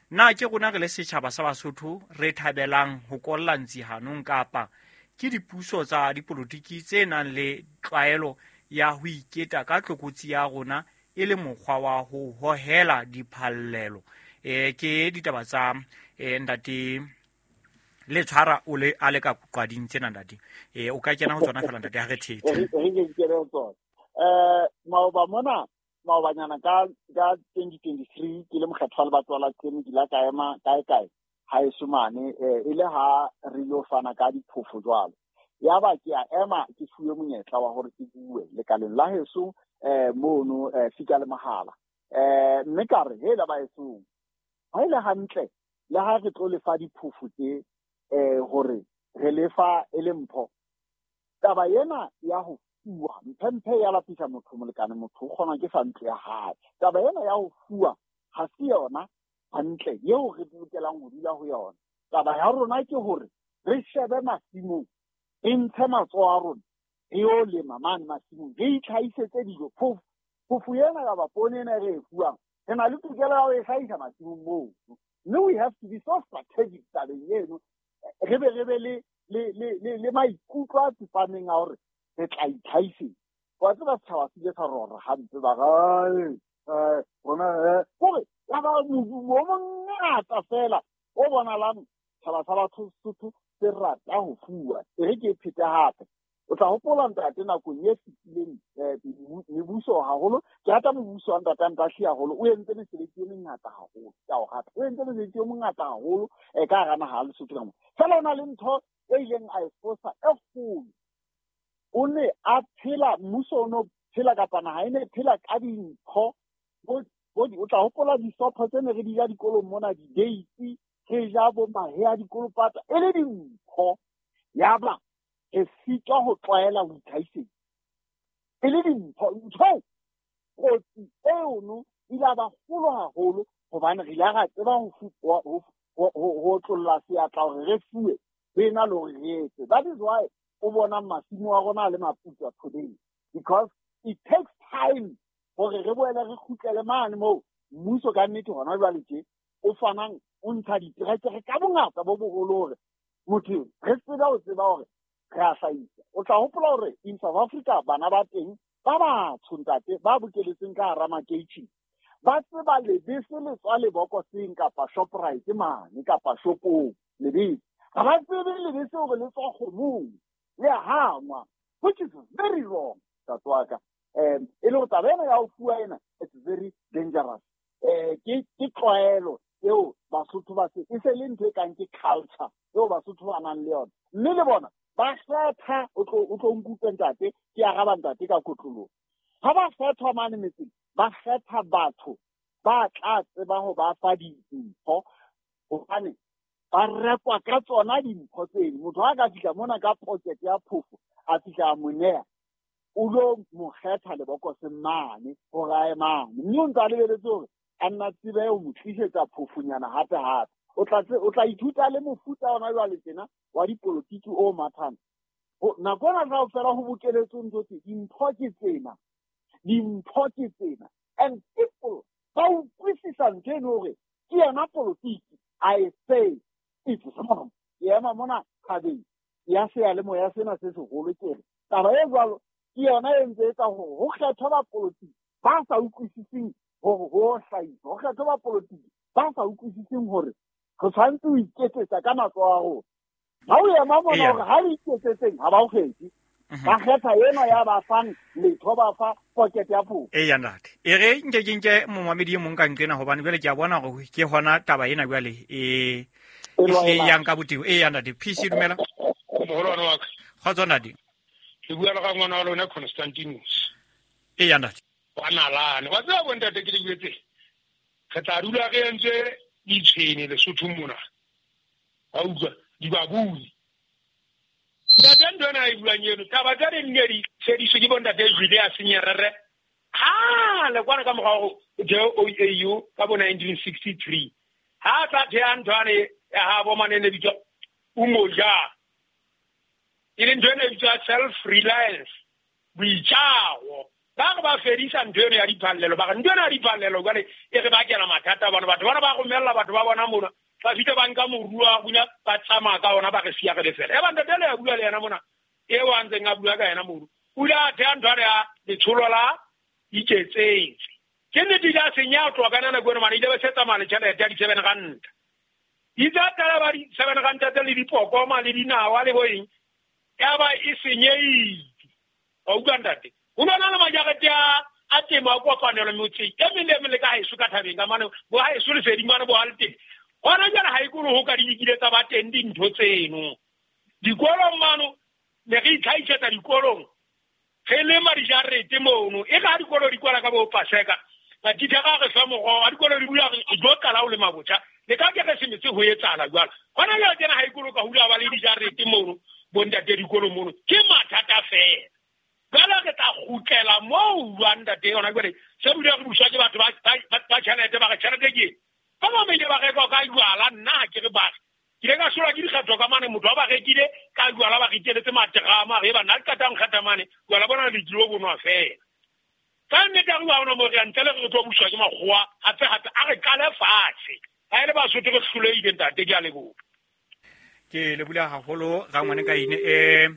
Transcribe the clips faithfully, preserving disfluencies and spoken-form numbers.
Na ke rona re le setjhaba sa Basotho re thabelang ho kolla ntsi hanong, kapa ke dipuso tsa dipolotiki tse nang le tlwaelo ya ho iketa ka tlokotsi ya rona e le mokgwa wa ho hohela diphallelo? E ke ditaba tsa e ntate le tshwara o le a le ka qwading tsena ntate. E o ka kena ho tsona fela ntate ha re thethe. Re ke kene ho tsona. Eh maoba mona maobanyana ka ka twenty twenty-three ke le mokgatho wa lebatwa la Qeme ke la ka ema kae kae ha eso mane e le ha re yo fana ka diphofo jwalo. Ya ba ke a ema ke fuwe monyetla wa hore ke bue lekaleng la heso eh mono fika le mahala. Eh mme ka re hela ba eso ha ile hantle le ha re tlo lefa diphofo tse eh hore re lefa e le mpho. Taba ena ya ho fuwa mphe ya lapisa motho molekane motho o kgona ke sa ntlo ya hae. Taba ena ya ho fuwa ha se yona hantle eo re lokelang ho dula ho yona. Taba ya rona ke hore re shebe masimong, re ntshe matsoho a rona re yo lema mane masimong, re itlhahisetse dijo. Phofo phofo ena kapa poone ena re e fuwang re na le tokelo ya ho e hlahisa masimong moo. Mme we have to be so strategic tabeng eno, re be re be le le le le maikutlo a tsepameng a hore re tla itlhahisetsa. Wa tseba setjhaba se ile sa rora hampe ba re eh rona hore ya ba modumo o mongata fela o bonalang setjhaba sa batho Sotho se rata ho fuwa. E re ke phete hape. O tla hopola ntate nakong e fetileng mebuso haholo, ke rata mobuso wa ntate Ntahle haholo, o entse mesebetsi e mengata haholo, ke a o rata. O entse mesebetsi e mengata haholo e ka hara naha ya Lesotho ka mona. Fela o na le ntho e ileng a e fosa e kgolo. O ne a phela, mmuso o no phela kapa naha e ne phela ka dintho. O tla hopola disopho tse ne re di ja dikolong mona, di-dates, re ja bo mahe a dikolopata, e le dimpho. Yaba re sitwa ho tlwaela ho itlhahisetsa. E le dimpho. Ntho kotsi eno ile ya ba kgolo haholo hobane re ile ra tseba ho ho otlolla seatla hore re fuwe ho ena le hore re etse. That is why o bona masimo a rona a le maputswa today, because it takes time hore re boele re kgutlele mane moo mmuso ka nnete hona jwale tje o fanang o ntsha diterekere ka bongata bo boholo hore motho re tsebe ho tseba hore re a hlahisa. O tla hopola hore in South Africa bana ba teng ba batsho ntate ba bokeletseng ka hara makeitjhene ba tseba lebese le tswa lebokoseng kapa Shoprite mane kapa shopong lebese. Ha ba tsebe lebese hore le tswa kgomong le a hangwa, which is very wrong ntate wa ka. Um e le hore taba ena ya ho fuwa ena it's very dangerous. Eh ke ke tlwaelo eo Basotho ba se e se le ntho e kang ke culture eo Basotho ba nang le yona. Mme le bona ba kgetha, o tlo o tlo nkutlwe ntate, ke araba ntate ka kotloloho. Ha ba kgethwa mane metseng, ba kgetha batho ba tla tseba ho ba fa dimpho hobane ba rekwa ka tsona dimpho tseno. Motho ha ka fihla mona ka pocket ya phofo a fihla a mo neha, o lo mo kgetha lebokoseng mane hore a ye mane. Mme o ntse a lebeletse hore a nna tsebe ho mo tlisetsa phofonyana hape hape. O tla o tla ithuta le mofuta ona jwale tjena wa dipolotiki o mathang. Nako ena kaofela ho bokeletswe ntho tse, dimpho ke tsena, dimpho ke tsena. And people ba utlwisisa ntho eno hore ke yona polotiki. I say it's wrong. Ke ema mona thabeng ya seyalemoya sena se seholo ke re taba e jwalo ke yona e ntse etsa hore ho kgethwe bapolotiki ba sa utlwisiseng hore ho hlahisa, ho kgethwe bapolotiki ba sa utlwisiseng hore re tshwanetse ho iketsetsa ka matsoho a rona. Ha o ema mona hore ha re iketsetseng ha ba o kgethe, ba kgetha ena ya ba fang letho, ba fa pocket ya phofo. Eya ntate, e re nke ke nke momamedi e mong ka nqena hobane jwale ke a bona hore ke hona taba ena jwale e e yang ka botebo. Eya ntate, P C dumela. Moholwane wa ka. Kgotso ntate. Ke bua le ka ngwana wa lona Constantinus. Eya ntate. Wa nalane. Wa tseba bo ntate ke le jwetse. Re tla dula re entse ditshwene Lesotho mona. Wa utlwa dibabuni. Ntate ntho ena e buang eno, taba tsa di nne di tshediswe ke bontate Julius Nyerere. Ha le kwana ka mora ho O A U ka bo nineteen sixty-three. Ha tla thea ntho ane ya ha bo mane ne bitswa Umoja. E leng ntho ena e bitswa self reliance, boitjao. Ba re ba fedisa ntho eno ya diphallelo, ba re ntho eno ya diphallelo jwale e re bakela mathata bana. Batho bana ba romella batho ba bona mona, ba fihla ba nka moruo wa rona, ba tsamaya ka ona, ba re siya re le fela. E ba ntate le ya bua le yena mona, eo a ntseng a bua ka yena mono, o ile a theha ntho ya letsholo la iketsetse. Ke nnete ile a senya ho tloha ka nako eno mane, ile ba se tsamaya le tjhelete ya di-seven ranta. Itse a qala ba di-seven ranta tse le dipokoma le dinawa le bo eng, ya ba e senyehile. Wa utlwa ntate? Ho na le majarete a a temo a kopanelo motseng e meng le e meng le ka haeso ka thabeng ka mane, bo haeso leseding mane bo haleteng. Hona jwale ha e kolo ho ka di kile tsa ba teng dintho tseno. Dikolong mano ne re itlhahisetsa dikolong, re lema dijarete mono. E ka ha dikolo di kwala ka bo Paseka, matitjhere a re fa moroho, ha dikolo di bula re tlo qala ho lema botjha. Le ka Keresemese ho etsahala jwalo. Hona jwale tjena ha e kolo ka hula ba le dijarete mono, bo ntate dikolo mono, ke mathata feela. Jwale re tla kgutlela moo jwang ntate yona jwale se bile re buswa ke batho ba ba tjhelete, ba re tjhelete ke eng? Ba bang ba ile ba reka ka jwala, nna ha ke re ba re. Ke ile ka solwa ke dikgetho ka mane, motho wa ba rekile ka jwala, ba riteletse materama, re ba nna le qetang kgetha mane, jwala bona le tlilo bonwa feela. Ka nnete ha re bua hona moo re ya ntle le re tlo buswa ke makgowa, hape hape a re qale fatshe. Ha e le Basotho re hlolehile ntate, ke a leboha. Ke leboha haholo rangwane ka ine. Eh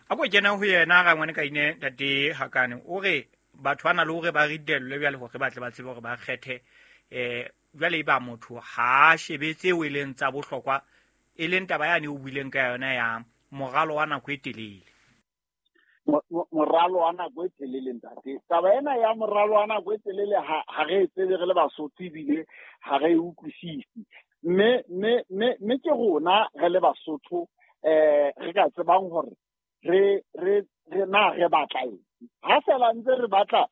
a ko kena ho yena rangwane ka ine ntate Hakane, o re batho ba na le hore ba ritellwe jwale hore ba tle ba tsebe hore ba kgethe. Eh jwale e ba motho ha shebe tseo e leng tsa bohlokwa, e leng taba yane o buileng ka yona ya moralo wa nako e telele. Moralo wa nako e telele ntate. Taba ena ya moralo wa nako e telele ha ha re e tsebe re le Basotho ebile ha re e utlwisise. Mme mme mme mme ke rona re le Basotho eh re ka tsebang hore re re re na re batla eng. Ha fela ntse re batla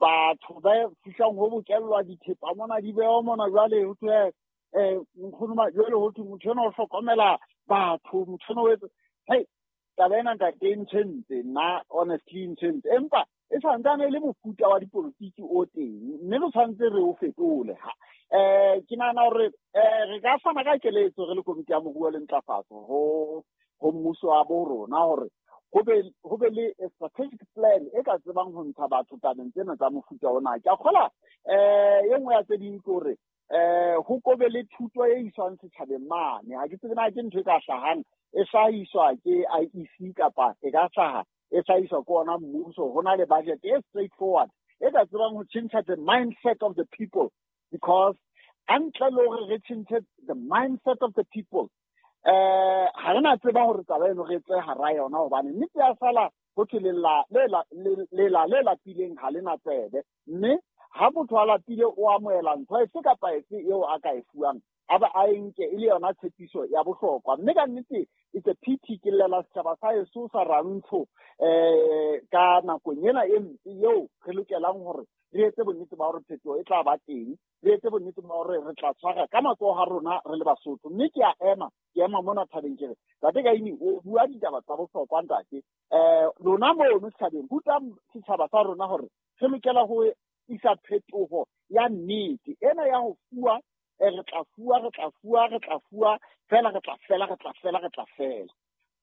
batho ba fihlang ho bokellwa dithepa mona di bewa mona jwale ho thwe eh nkgono ma jwale ho thwe motho ena o hlokomela batho, motho ena o etsa. Hei, taba ena ntate e ntshwentse nna, honestly e ntshwentse. Empa e santsane e le mofuta wa dipolotiki o teng, mme re tshwanetse re o fetole. Ha eh ke nahana hore eh re ka fana ka keletso re le komiti ya moruo le ntlafatso ho ho mmuso wa bo rona hore ho be ho be le strategic plan e ka tsebang ho ntsha batho tabeng tsena tsa mofuta ona. Ke a kgola eh e nngwe ya tse ding ke hore eh ho kobe le thuto e iswang setjhabeng mane. Ha ke tsebe na ke ntho e ka hlahang e hlahiswa ke I E C kapa e ka hlaha e hlahiswa ke ona mmuso. Ho na le budget e straightforward e ka tsebang ho tjhentjha the mindset of the people, because ntle le hore re tjhentjhe the mindset of the people eh ha re na tseba hore taba eno re tswe hara yona, hobane nnete ya sala ho thwe lela le lela le lapileng ha le na tsebe. Mme ha motho a lapile o amohela ntho efe kapa efe eo a ka e fuwang, a ba a e nke e le yona tshepiso ya bohlokwa. Mme ka nnete it's a pity ke llela setjhaba sa heso sa Rantsho eh ka nakong ena e mpe eo re lokelang hore re etse bonnete ba hore phetoho e tla ba teng, re etse bonnete ba hore re tla tshwara ka matsoho a rona re le Basotho. Mme ke a ema, ke ema mona thabeng ke re ntate Kaine o bua ditaba tsa bohlokwa ntate. Eh lona mono setjhabeng, rutang setjhaba sa rona hore re lokela ho isa phetoho ya nnete ena ya ho fuwa, re tla fuwa, re tla fuwa, re tla fuwa fela, re tla fela, re tla fela, re tla fela.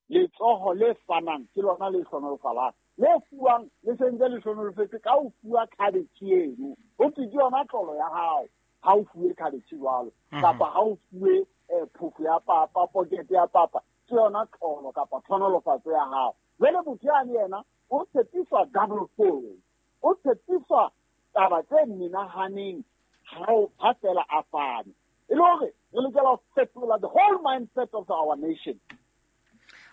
Letsoho le fanang ke lona le hlonolofalang, le fuwang le sentse le hlonolofetse ka ho fuwa cabbage eno. Ho thwe ke yona tlolo ya hao ha o fuwe cabbage jwalo, kapa ha o fuwe phofo ya papa, pokete ya papa, ke yona tlolo kapa tlhonolofatso ya hao. Jwale motho yane yena o tshepiswa double fold, o tshepiswa taba tse menahaneng ha fela a fane. E le hore re lokela ho fetola the whole mindset of our nation.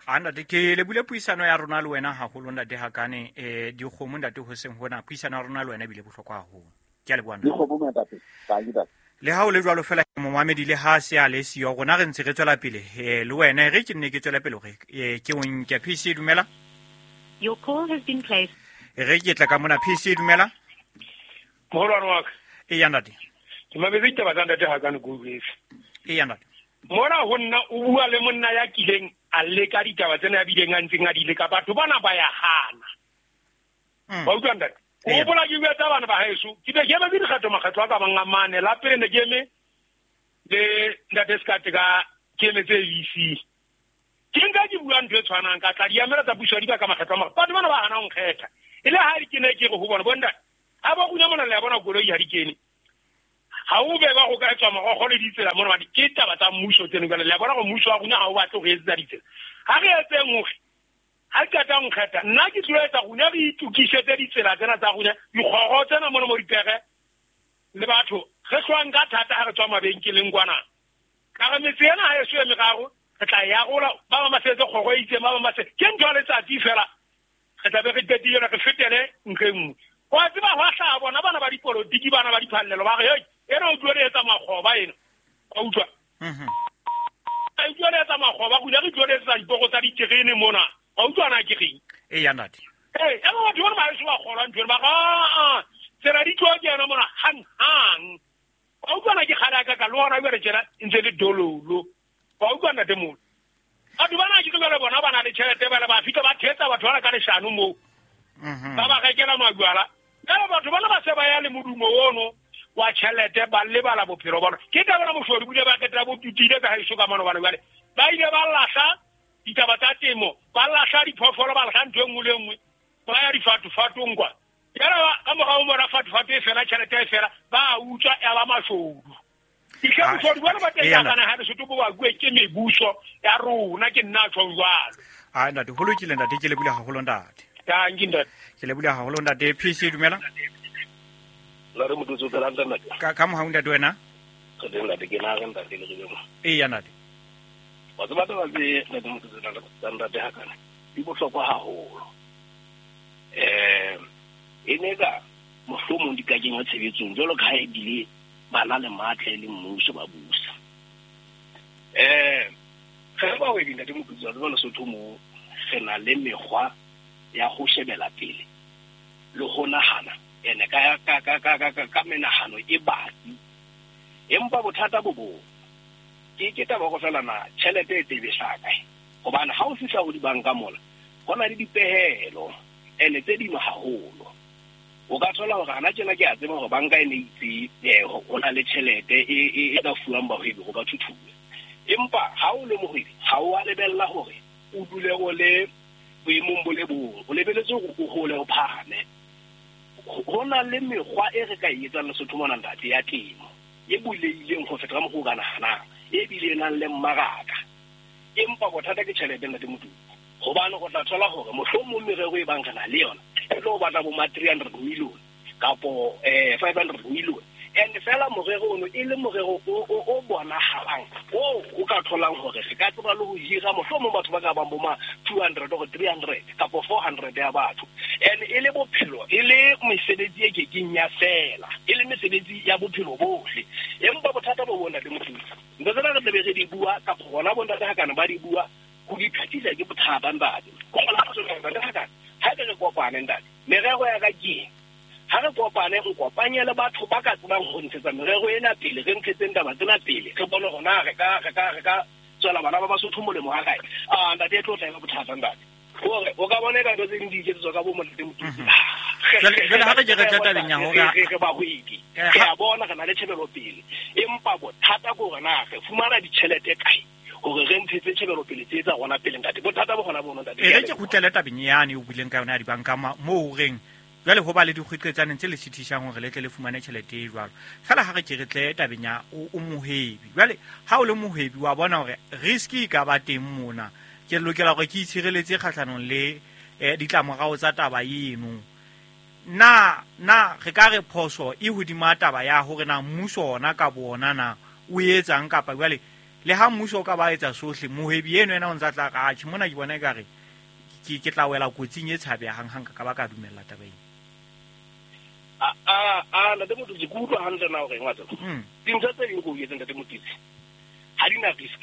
A ntate ke lebule puisano ya rona le wena haholo ntate Hakane. Eh dikgomo ntate hoseng hona puisano ya rona le wena ebile bohlokwa haholo. Ke a leboha ntate. Dikgomo ntate. Ntate. Le ha o le jwalo fela momamedi le ha se a le siyo rona re ntse re tswela pele eh le wena re ke nne ke tswela pele hore ke o nke P C dumela. Your call has been placed. Re ke tla ka mona P C dumela. Moholwane wa ka. E ya ntate. Ke mametse ditaba tsa ntate Hakane ke utlwetse. E ya ntate. Mona ho nna o bua le monna ya kileng a leka ditaba tsena ya bileng a ntseng a di leka, batho bana ba ya hana. Ba utlwa ntate? O hopola ke bua tsa bana ba haeso, ke be ke emetse dikgetho makgetlo a ka bang a mane. La pele ne ke eme le ntate Sekate ka ke emetse A B C. Ke nka ke bua ntho e tshwanang, ka tla di emela tsa puso ya dibaka makgetlo a mangwe. Batho bana ba hana ho nkgetha. E le ha di kene ke re ho bona bontate ha ba kunya mona le ya bona koloi ha di kene. Ha o be ba go ka tswa morogo le ditsela mona ba di ke taba tsa mmuso tseno jwale le ya bona go mmuso wa rona ha o batle go etsa ditsela. Ha re etseng hore ha ke qeta nkgetha nna ke tlo etsa rona re itukisetse ditsela tsena tsa rona dikgoro tsena mona mo dipere le batho re hlwang ka thata ha re tswa mabenkeleng kwana. Ka re metse ena ha e so e meraro re tla ya rola ba ba masetse kgoro e itseng ba ba masetse ke ntho ya letsatsi fela re tla be re qetile re fetele ntho e nngwe. Wa tseba hwa hlaha bona bana ba dipolotiki bana ba diphallelo ba re hei ena o tlo re etsa makgoba ena wa utlwa mhm e tlo re etsa makgoba go re tlo re etsa diporo tsa diterene mona wa utlwa na ke reng e ya ntate eh e ba batho ba ba kgolwa ntho ba ga a tsela di tlo kena mona hang hang wa utlwa na ke kgala ka ka le hona jwale tjena ntse le dololo wa utlwa ntate mona batho bana ke jwale bona ba na le tjhelete ba le ba fihla ba thetsa batho ba ka leshano moo mhm ba ba rekela majwala jwale batho bana ba se ba ya le modumo ono wa tjhelete ba lebala bophelo bona ke taba na moshodi bile ba ketla bo tutile ka haeso ka mano bana jwale ba ile ba lahla ditaba tsa temo ba lahla diphoofolo ba lahla ntho e nngwe le nngwe ba ya difatofatong kwa jwale ka morao mona fatofatu e fela tjhelete e fela ba utswa ya ba mashodu Ke moshodi bona ba teng ka kana ha Lesotho bo ba bue ke mebuso ya rona ke nna tjho jwalo. Ah ntate ho lokile ntate ke lebule haholo ntate. Danki ntate. Ke lebule haholo ntate P C dumela. La re motho tso tsela ntate. Ka ka mohau ntate wena? Re teng ntate ke na re ntate le re. E ya ntate. Wa tseba taba tse ntate motho tsa ntate ha kana. Di bohlokwa haholo. Eh e ne ka mohlomong di ka kenywa tshebetsong jwalo ka ha e bile ba na le matla le mmuso ba busa. Eh re ba we ntate motho tsa Lesotho mo re na le mekgwa ya go shebela pele le go nahana ene ka ka ka ka ka ka menahano e batsi empa bothata bo bo ke ke taba go fela na tjhelete e tebe hlaka hobane ha o fihla ho dibanka mola ho na le dipehelo ene tse dimo haholo o ka thola hore hana tjena ke a tseba hore banka e ne itse eh ho na le tjhelete e e ka fuwang bahwebi go ba thuthuwe empa ha o le mohwebi ha o a lebella hore o dule o le boemong bo le bong o lebeletse hore o hole o phahame ho na le mekgwa e re ka e etsang Lesotho mona ntate ya temo e buleileng ho feta ka mokgwa o ka nahanang e bile e nang le mmaraka empa bothata ke tjhelete ntate Motuku hobane o tla thola hore mohlomong merero e bang re na le yona e tlo batla bo ma three hundred million kapo eh five hundred million and fela morero ono e le morero o o bonahalang o o ka tholang hore re ka tseba le ho hira mohlomong batho ba ka bang bo ma two hundred or three hundred kapo four hundred ya batho and e le bophelo e le mesebetsi e kekeng ya fela e le mesebetsi ya bophelo bohle empa bothata bo bona le motho ntho tsena re tlebe re di bua kapo hona bo ntate ha kana ba di bua ho di phathisa ke bothata ntate go ngola ntate ha kana ha re kopane ntate merero ya ka ke ha re kopane o kopanye le batho ba ka tsebang ho ntshetsa merero ena pele re ntshetseng taba tsena pele re bone hore na re ka re ka re ka tswela bana ba Basotho molemo ha kae ah ntate e tlo tla ba bothata ntate hore o ka bona ka ntho tse ding di iketsetswa ka bo monate Motuku jwale ha re ke re tla tabeng ya hore re ba hwedi re a bona re na le tjhebelo pele empa bothata ke hore na re fumana ditjhelete kae hore re ntshetse tjhebelo pele tse tsa rona pele ntate bothata bo hona bono ntate e re ke kgutlele tabeng yane o buileng ka yona ya dibanka moo o reng jwale ho ba le dikgweqetsaneng tse le sithisang hore le tle le fumane tjhelete e jwalo fela ha re ke re tle tabeng ya o mohwebi jwale ha o le mohwebi wa bona hore risk e ka ba teng mona ke lokela hore ke itshireletse kgahlanong le ditlamorao tsa taba eno na na re ka re phoso e hodima taba ya hore na mmuso ona ka bona na o etsang kapa jwale le ha mmuso o ka ba etsa sohle mohwebi eno ena o ntsa tla ka atjhe mona ke bona ekare ke ke tla wela kotsing e tshabehang hang ka ba ka dumella taba ena. A a a ntate Motutsi ke utlwa hantle na hore wa tseba dintho tse ding ko etseng ntate Motutsi ha di na risk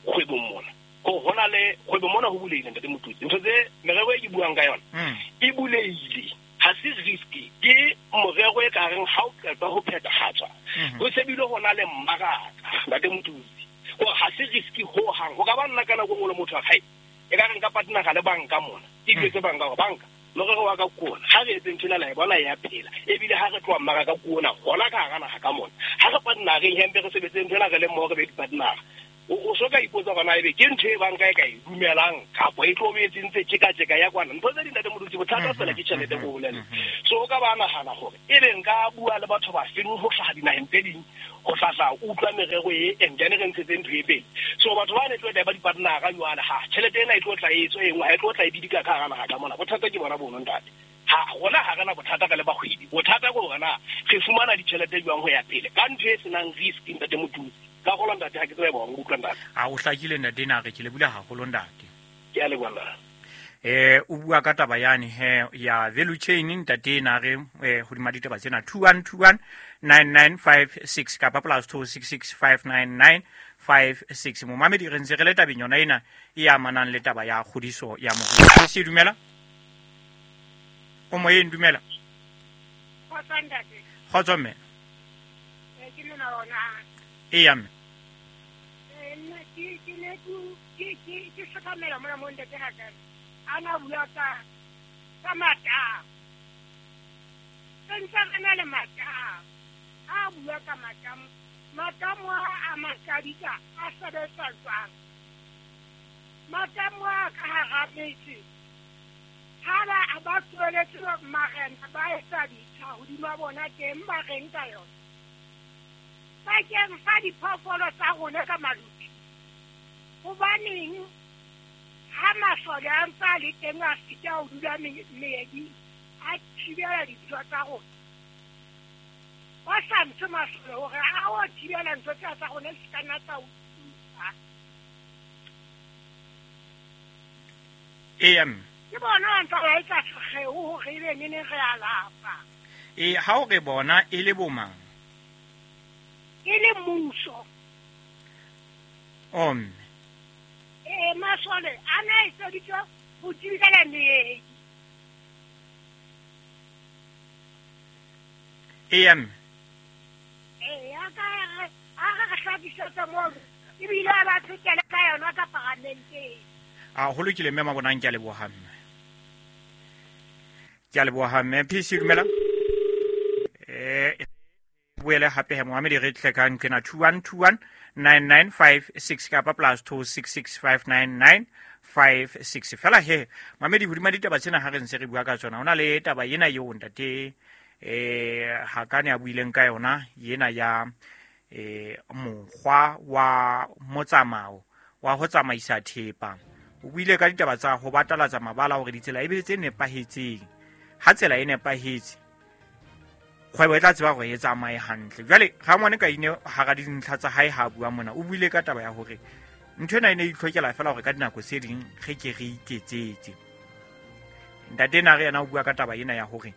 kgwebong mona ko hona le kgwebo mona ho bulehile ntate Motutsi ntho tse merero e ke buang ka yona e bulehile ha se risk ke morero e ka reng ha o qeta ho phethahatswa ho sebile hona le mmaraka ntate Motutsi ko ha se risk ho hang ho ka ba nna kana go ngolo motho wa hae e ka reng ka partner le banka mona ke ditswe banka go banka morero wa ka kona ha re etse ntho ena la e bona ya phela ebile ha re tloha mmaraka kona hona ka hara naha ka mona ha re partner re hempe re sebetse ntho ena re le mmoho re be di-partner O so ka ipotsa gona ebe ke ntho e banka e ka e dumelang kapo e tlo be e tsentse tjeka-tjeka ya kwana. Ntho tse ding ntate Modutsi bothata fela ke tjhelete bo bolele. So o ka ba nahana hore e be nka bua le batho ba feng ho hlaha dinaheng tse ding ho hlahla utlwa merero e and then re ntshetse ntho e pele. So batho ba ne tlo ba di-partner-a jwale ha tjhelete ena e tlo tla e tswe e nngwe ha e tlo tla e bidika ka hara naha ka mona. Bothata ke bona bono ntate. Ha rona ha rena bothata ka le bahwebi. Bothata ke hore na re fumana ditjhelete jwang ho ya pele ka ntho e senang risk ntate Modutsi. Ka go ntate ha ke tsebe ba utlwa ntate. A o hlakile ntate na re ke le bula haholo ntate. Ke a leboha ntate. Eh o bua ka taba yane he ya value chain ntate na re eh hodima ditaba tsena two one two one nine nine five six kapa plus two six six five nine nine five six. Momamedi re ntse re le tabeng yona ena e amanang le taba ya kgodiso ya moruo. Se dumela? O moyeng dumela. Kgotso ntate. Kgotso mme. Eh ke nna ona. E mme. Eh nna ke ke ne ke ke ke hlokomela mona mo ntate ha ka. Ana bua ka ka matamo. Ntse re na le matamo. A bua ka matamo. Matamo a Makadika a sebetsa jwang? Matamo a ka hara metse. Ha ba ba tsweletse marena ba etsa ditsha hodima bona teng ba reng ka yona. Bakeng sa diphoofolo tsa rona ka maluti. Hobaneng ha masole a ntse a le teng a sita ho dula meedi a thibela dintho tsa rona. Ba sa ntshe masole hore a o thibela ntho tsa tsa rona di ka nna tsa utlwa. E mme. Ke bona ba ntse ba etsa sekgeo hore ebe neneng re a lapa. E ha o re bona e le bomang? E le mmuso. O mme. E masole a na etseditswe ho thibela meedi. E mme. E a ka re a re re hlakisetse moo ebile a ba tshekele ka yona ka paramenteng. A ho lokile mme mabonang ke a leboha mme. Ke a leboha mme. P C dumela. Eh boele hape he Mohammed re tle ka ntlena two one two one nine nine five six kapa plus two six six five nine nine five six. Fela he Mohammed hodima ditaba tsena ha re ntse re bua ka tsona hona le taba ena eo ntate eh Hakane a buileng ka yona yena ya eh mokgwa wa motsamao wa ho tsamaisa thepa. O buile ka ditaba tsa ho batalatsa mabala hore ditsela e be tse nepahetseng. Ha tsela e nepahetse kgwebo e tla tseba hore e tsamaye hantle. Jwale Rangwane ka ine hara dintlha tsa hae ha bua mona o buile ka taba ya hore ntho ena e ne itlhokela fela hore ka dinako tse ding re ke re iketsetse. Ntate na re yena o bua ka taba ena ya hore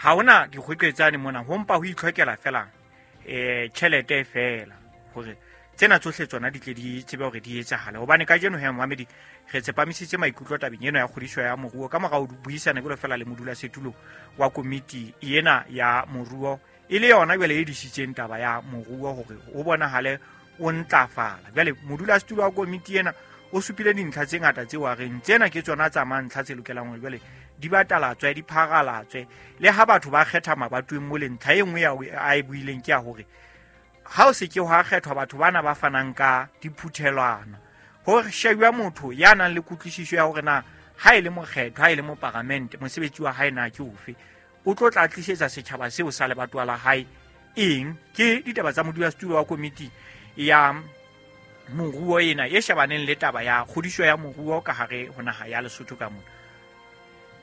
ha hona dikgweqetsane mona ho mpa ho itlhokela fela eh tjhelete fela hore tsena tsohle tsona di tle di tsebe hore di etsahale. Hobane kajeno he Mohammed re tsepamisitse maikutlo tabeng ena ya kgodiso ya moruo ka morao buisana jwalo fela le modulasetulo wa komiti ena ya moruo e le yona jwale e disitseng taba ya moruo hore o bonahale o ntlafala. Jwale modulasetulo wa komiti ena o supile dintlha tse ngata tseo a reng tsena ke tsona tsa mantlha tse lokelang hore jwale di batalatswe di phagalatswe le ha batho ba kgetha mabatoweng mo le ntlha e nngwe ya a e buileng ke ya hore ha o se ke hwa kgethwa batho bana ba fanang ka diphuthelwana hore shebuwa motho ya nang le kutlwisiso ya hore na ha e le mokgetho ha e le moparamente mosebetsi wa hae na ke ofe o tlo tla tlisetsa setjhaba seo sa lebatowa la hae eng. Ke ditaba tsa modulasetulo wa komiti ya moruo ena e shebaneng le taba ya kgodiso ya moruo ka hare ho naha ya Lesotho ka mona.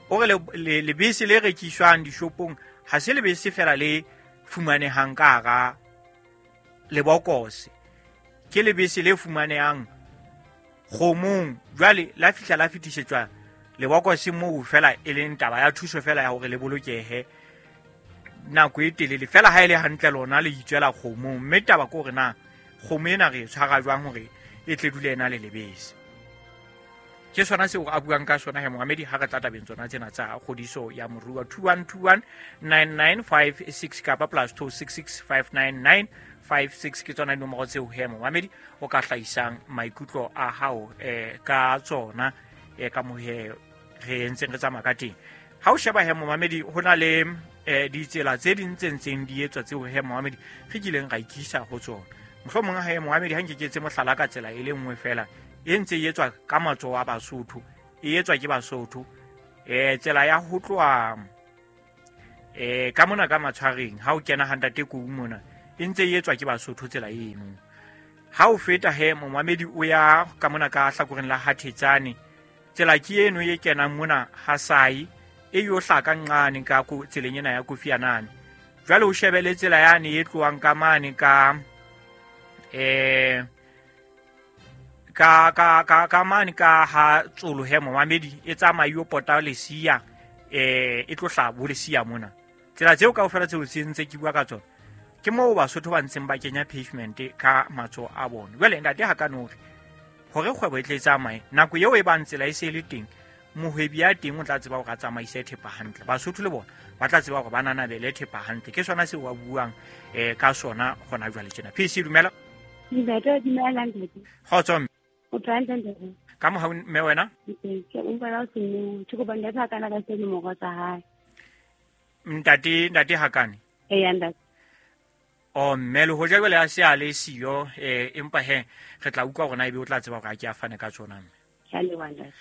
O re lebese le rekiswang dishopong ha se lebese fela le fumanehang ka hara lebokose, ke lebese le fumanehang kgomong. Jwale la fihla la fetisetswa lebokose moo fela e leng taba ya thuso fela ya hore le bolokehe nako e telele fela ha e le hantle lona le itswela kgomong. Mme taba ke hore na kgomo ena re e tshwara jwang hore e tle dule ena le lebese. Ke sona seo a buang ka sona he Mohammed ha re tla tabeng tsona tsena tsa kgodiso ya moruo. Two one two one nine nine five six kapa plus two six six five nine nine five six ke tsona dinomoro tseo he Mohammed o ka hlahisang maikutlo a hao eh ka tsona eh ka mohe re entseng re tsamaya ka teng. Ha o sheba he Mohammed ho na le eh ditsela tse ding tse ntseng di etswa tseo he Mohammed re kileng ra ikisa ho tsona. Mohlomong ha e moamedi ha nke ke etse mohlala ka tsela e le nngwe fela e ntse e etswa ka matsoho a Basotho, e etswa ke Basotho. Eh tsela ya ho tloha eh ka mona ka matshwareng ha o kena ha ntate Kou mona e ntse e etswa ke Basotho tsela eno. Ha o feta he momamedi o ya ka mona ka hlakoreng la Hathetsane, tsela ke eno e kenang mona ha Sai e yo hlaka nqane ka ko tseleng ena ya Kofianane. Jwale o shebele tsela yane e tlohang ka mane ka eh ka ka ka ka mane ka ha Tsolo he momamedi e tsamaya yo pota Lesia eh e tlo hla bo Lesia mona. Tsela tseo kaofela tseo se ntse ke bua ka tsona ke moo Basotho ba ntseng ba kenya pavement ka matsoho a bona. Jwale ntate ha ka no hore kgwebo e tle tsamaye nako eo e bang tsela e se le teng, mohwebi ya teng o tla tseba hore a tsamaise thepa hantle. Basotho le bona ba tla tseba hore ba nanabele thepa hantle. Ke sona seo ba buang eh ka sona hona jwale tjena. P C dumela. Ntate dumela ntate. Kgotso mme. O tla ntate. Ka mohau mme wena? Ke o bala o senne, ke kopa ntate ha kana ka se nomoro tsa hae. Ntate ntate Hakane. Eh ntate. O mme le hoja jwale a se a le siyo eh empa he re tla utlwa hore na ebe o tla tseba hore a ke a fane ka tsona mme. Ke a leboha ntate.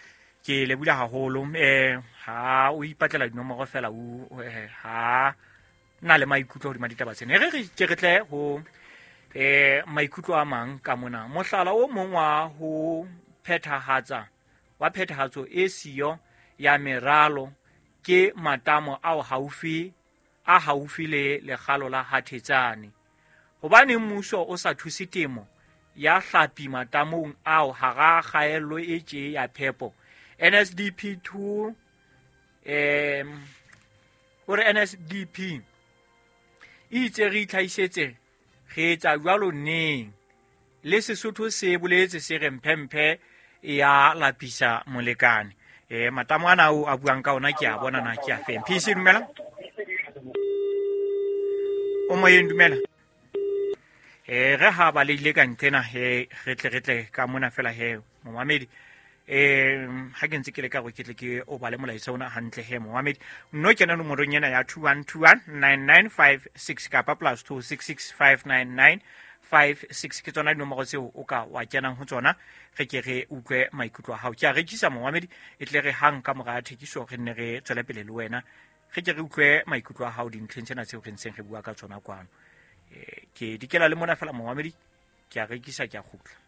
Ke lebula haholo eh ha o ipatlela dinomoro fela o ha na le maikutlo hodima ditaba tsena. Re re ke re tle ho eh maikutlo a mang ka mona. Mohlala o mong wa ho phethahatsa wa phethahatso e siyo ya meralo ke matamo ao haufi a haufi le lekgalo la Hathetsane. Hobane mmuso o sa thuse temo ya hlapi matamong ao hara kgaello e tje ya phepo. N S D P two em hore N S D P e itse re itlhaisetse re etsa jwalo neng le Sesotho se boletse se re mphemphe ya lapisa molekane. Eh matamo ana ao a buang ka ona ke a bona na ke a feng. P C dumela. O moyeng dumela. Eh re ha ba leile ka ntlena he re tle re tle ka mona fela he momamedi. Eh ha ke ntse ke le ka go ke tle ke o bale molaetsa ona hantle he momamedi. Nno kena nomorong ena ya two one two one nine nine five six kapa plus two six six five nine nine five six ke tsona dinomoro tseo o ka wa kenang ho tsona re ke re utlwe maikutlo a hao. Ke a rekisa momamedi e tle re hang ka mora thekiso re nne re tswele pele le wena re ke re utlwe maikutlo a hao dintlheng tsena tseo re ntseng re bua ka tsona kwano. Eh ke dikela le mona fela momamedi ke a rekisa ke a kgutla.